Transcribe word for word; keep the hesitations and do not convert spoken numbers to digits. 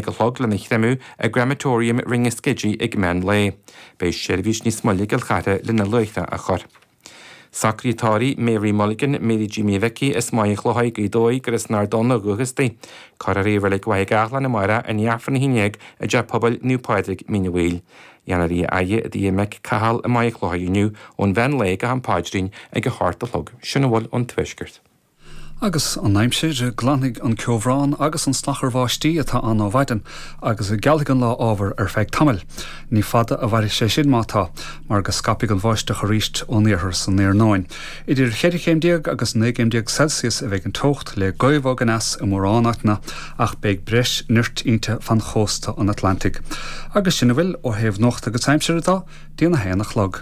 a chlog lena chreimeadh i gCrematorium Ringaskiddy ag meán lae. Beidh seirbhís níos moille i gCill Chartha lena luaithreach a chur. Socruithe tórraimh Mary Mulligan, Mary Jimmy Mhicí as Maigh Chlóthaigh Gaoth Dobhair gur as an Ard Donn ó dhúchas di. Cuirfear í i Reilig Mhaigh Gceathlán amárach i ndiaidh Aifreann a haon déag i dTeach Pobail Naomh Pádraig, Mín an Mhaoil. Dhéanfar í a fhaire i dtigh a mic Cathal i Maigh Chlóthaigh inniu ón mheán lae go ham paidrín ag a hocht a chlog. Sin a bhfuil ón Tuaisceart. Agus an aimsir, glanfaidh an ceobhrán agus an salachar báistí atá ann ó mhaidin agus gealfaidh an lá ábhar ar feadh tamaill. Ní fada a mhairfidh sé sin má tá, mar go scaipfidh an bháisteach arís ón iarthar san iarnóin. Idir cheithre chéim déag agus naoi gcéim déag Celsius a bheidh an teocht le gaoth bhog aneas i mórán áiteanna ach beidh breis nirt inti fan chósta an Atlantaigh. Agus sin a bhfuil ó thaobh nuachta agus aimsire de, dtí'n a haon a chlog.